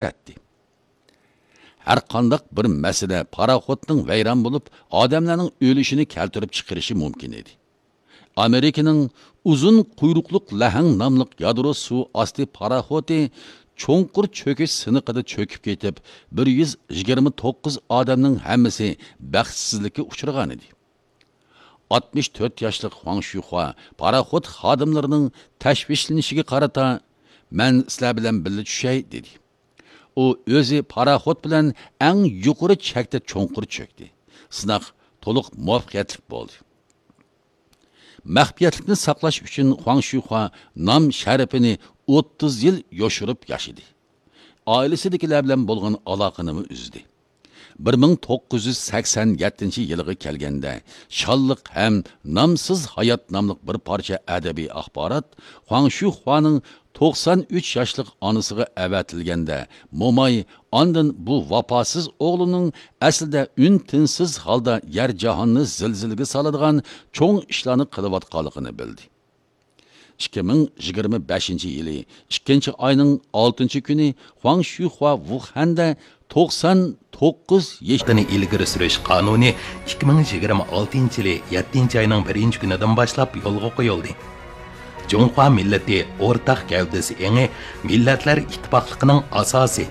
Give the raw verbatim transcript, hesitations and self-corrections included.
ئەتتى. ھەر قانداق بىر مەسىلە پاراخوتنىڭ ۋەيران بولۇپ، ئادەملەرنىڭ ئۆلۈشىنى كەلتۈرۈپ چىقىرىشى مۇمكىن ئىدى. ئامېرىكىنىڭ ئۇزۇن قۇيرۇقلۇق لەھەڭ ناملىق يادرو سۇ ئاستى پاراخوتى چوڭقۇر چۆكۈش سىنىقىدا چۆكۈپ كېتىپ، بىر يۈز يىگىرمە توققۇز ئادەمنىڭ ھەممىسى بەختسىزلىككە ئۇچرىغانىدى. ئاتمىش تۆت ياشلىق خۇاڭ شۈخۇا پاراخوت خادىملىرىنىڭ تەشۋىشلىنىشىگە قارىتا، «مەن سىلەر بىلەن بىللە چۈشەي» دېدى. ئۇ ئۆزى پاراخوت بىلەن ئەڭ يۇقىرى چەكتە چوڭقۇر چۆكتى. سىناق تولۇق مۇۋەپپەقىيەتلىك بولدى. مەخپىيەتلىكنى ساقلاش ئۈچۈن خۇاڭ شۈخۇا نام شەرىپىنى ئوتتۇز يىل يوشۇرۇپ ياشىدى. ئائىلىسىدىكىلەر بىلەن بولغان ئالاقىنىمۇ ئۈزدى. بىر مىڭ توققۇز يۈز سەكسەن يەتتىنچى يىلىغا كەلگەندە، شانلىق ھەم نامسىز ھايات ناملىق بىر پارچە ئەدەبىي ئاخبارات خۇاڭ شۈخۇانىڭ توقسان ئۈچ ياشلىق ئانىسىغا ئەۋەتىلگەندە، موماي ئاندىن بۇ ۋاپاسىز ئوغلىنىڭ ئەسلىدە ئۈن-تىنسىز ھالدا يەر-جاھاننى زىلزىلىگە سالىدىغان چوڭ ئىشلارنى قىلىۋاتقانلىقىنى بىلدى. ئىككى مىڭ يىگىرمە بەشىنچى يىلى ئىككىنچى ئاينىڭ ئالتىنچى كۈنى خۇاڭ شۈخۇا ۋۇخەندە توقسان توققۇز يېشىنى ئىلگىرى سۈرۈش قانۇنى ئىككى مىڭ يىگىرمە ئالتىنچى يىلى يەتتىنچى ئاينىڭ بىرىنچى كۈنىدىن باشلاپ يولغا قويۇلدى. جۇڭخۇا مىللىتى ئورتاق گەۋدىسى ئېڭى مىللەتلەر ئىتتىپاقلىقىنىڭ ئاساسى